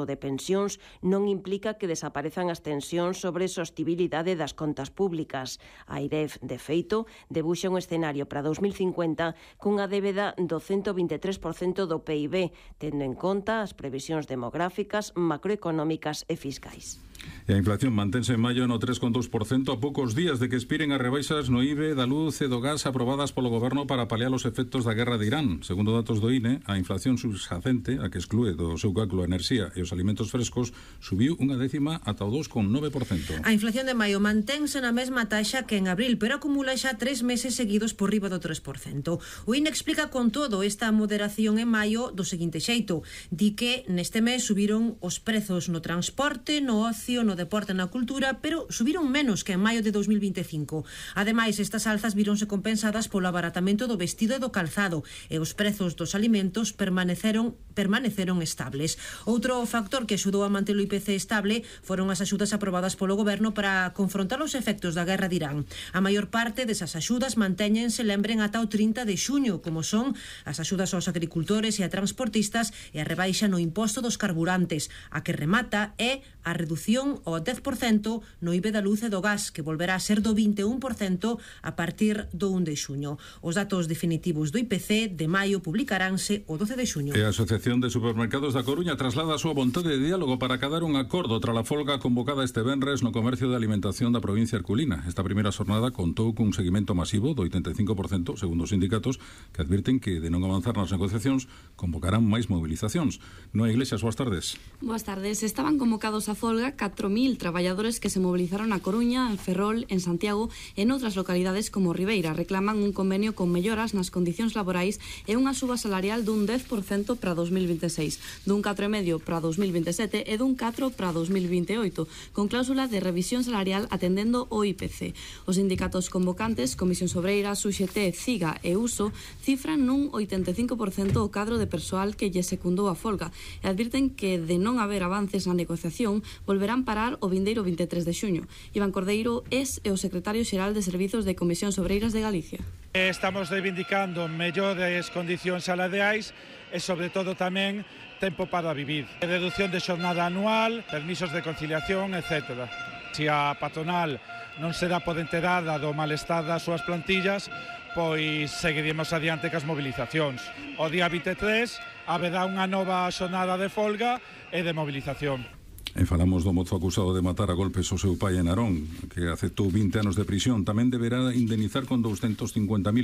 de pensións non implica que desaparezan as tensións sobre sostibilidade das contas públicas. A AIREF, de feito, debuxa un escenario para 2050 cunha débeda do 123% do PIB, tendo en conta as previsións demográficas, macroeconómicas e fiscais. E a inflación mantense en maio no 3,2% a poucos días de que expiren as rebaixas no IBE da luz e do gas aprobadas polo Goberno para paliar os efectos da guerra de Irán. Segundo datos do INE, a inflación subxacente, a que exclúe do seu cálculo a enerxía e os alimentos frescos, subiu unha décima ata o 2,9%. A inflación de maio mantense na mesma taxa que en abril, pero acumula xa 3 meses seguidos por riba do 3%. O INE explica con todo esta moderación en maio do seguinte xeito. Di que neste mes subiron os prezos no transporte, no ocio, no deporte e na cultura, pero subiron menos que en maio de 2025. Ademais, estas alzas víronse compensadas polo abaratamento do vestido e do calzado, e os prezos dos alimentos permaneceron estables. Outro factor que axudou a manter o IPC estable foron as axudas aprobadas polo Goberno para confrontar os efectos da guerra de Irán. A maior parte desas axudas mantéñense, lembren, ata o 30 de xuño, como son as axudas aos agricultores e a transportistas e a rebaixa no imposto dos carburantes. A que remata é a redución ao 10% no IBE da luz e do gas, que volverá a ser do 21% a partir do 1 de xuño. Os datos definitivos do IPC de maio publicaránse o 12 de xuño. E a Asociación de Supermercados da Coruña traslada a súa vontade de diálogo para acadar un acordo tras a folga convocada este venres no comercio de alimentación da provincia herculina. Esta primeira xornada contou cun seguimento masivo do 85%, segundo os sindicatos, que advirten que de non avanzar nas negociacións convocarán máis movilizacións. Noa Iglesias, boas tardes. Boas tardes. Estaban convocados a folga 4.000 traballadores que se movilizaron a Coruña, en Ferrol, en Santiago e noutras localidades como Ribeira. Reclaman un convenio con melloras nas condicións laborais e unha suba salarial dun 10% para 2026, dun 4,5% para 2027 e dun 4% para 2028, con cláusula de revisión salarial atendendo o IPC. Os sindicatos convocantes, Comisión Obreiras, UGT, CIGA e USO, cifran nun 85% o cadro de persoal que lle secundou a folga e advirten que de non haber avances na negociación volverán parar o vindeiro 23 de xuño. Iván Cordeiro é o secretario xeral de Servizos de Comisións Obreiras de Galicia. Estamos reivindicando mellores condicións salariais e, sobre todo, tamén tempo para vivir. Reducción de xornada anual, permisos de conciliación, etc. Se a patronal non se dá por enterada do malestar das súas plantillas, pois seguiremos adiante cas mobilizacións. O día 23 haberá unha nova xornada de folga e de mobilización. E falamos do mozo acusado de matar a golpes o seu pai en Narón, que aceptou 20 anos de prisión. Tamén deberá indemnizar con 250.000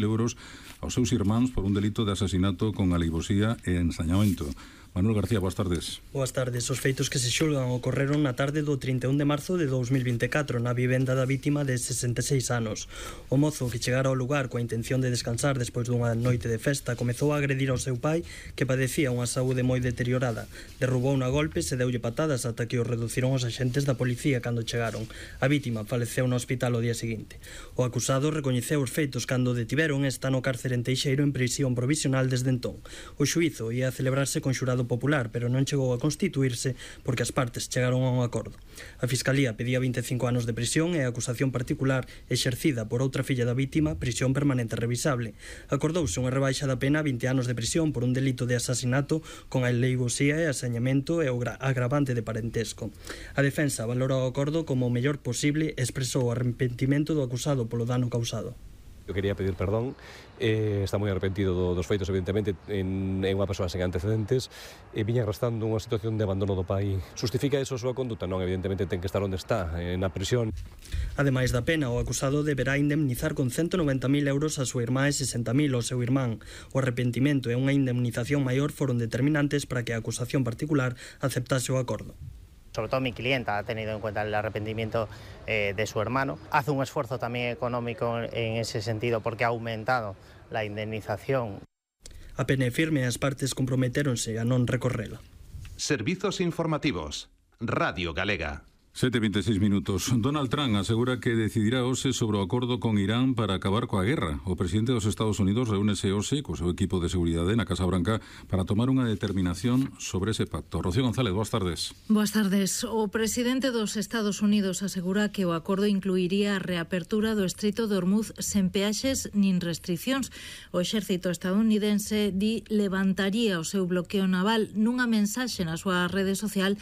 euros aos seus irmáns por un delito de asasinato con alevosía e ensañamento. Manuel García, boas tardes. Boas tardes. Os feitos que se xulgan ocorreron na tarde do 31 de marzo de 2024 na vivenda da vítima de 66 anos. O mozo, que chegara ao lugar coa intención de descansar despois dunha noite de festa, comezou a agredir ao seu pai, que padecía unha saúde moi deteriorada. Derrubou a golpes e deulle patadas ata que o reduciron os axentes da policía cando chegaron. A vítima faleceu no hospital o día seguinte. O acusado recoñeceu os feitos cando o detiveron e está no cárcere en Teixeiro en prisión provisional desde entón. O xuízo ia a celebrarse con xurado popular, pero non chegou a constituirse porque as partes chegaron a un acordo. A Fiscalía pedía 25 anos de prisión e a acusación particular exercida por outra filla da vítima, prisión permanente revisable. Acordouse unha rebaixa da pena a 20 anos de prisión por un delito de asasinato con alevosía e asañamento e o agravante de parentesco. A defensa valora o acordo como o mellor posible e expresou o arrepentimento do acusado polo dano causado. Eu quería pedir perdón, está moi arrepentido dos feitos, evidentemente, é unha persoa sen antecedentes, e viña arrastrando unha situación de abandono do pai. Justifica eso a súa conduta? Non, evidentemente ten que estar onde está, na prisión. Ademais da pena, o acusado deberá indemnizar con 190.000 euros a súa irmá e 60.000 ao seu irmán. O arrepentimento e unha indemnización maior foron determinantes para que a acusación particular aceptase o acordo. Sobre todo mi clienta ha tenido en cuenta el arrepentimiento de su hermano. Hace un esfuerzo también económico en ese sentido porque ha aumentado la indemnización. A pena é firme e as partes comprometéronse a non recorrela. Servizos informativos. Radio Galega. 7:26 minutos. Donald Trump asegura que decidirá hoxe sobre o acordo con Irán para acabar coa guerra. O presidente dos Estados Unidos reúnese hoxe co seu equipo de seguridade na Casa Branca para tomar unha determinación sobre ese pacto. Rocío González, boas tardes. Boas tardes. O presidente dos Estados Unidos asegura que o acordo incluiría a reapertura do Estreito de Hormuz sen peaxes nin restriccións. O exército estadounidense levantaría o seu bloqueo naval nunha mensaxe na súa rede social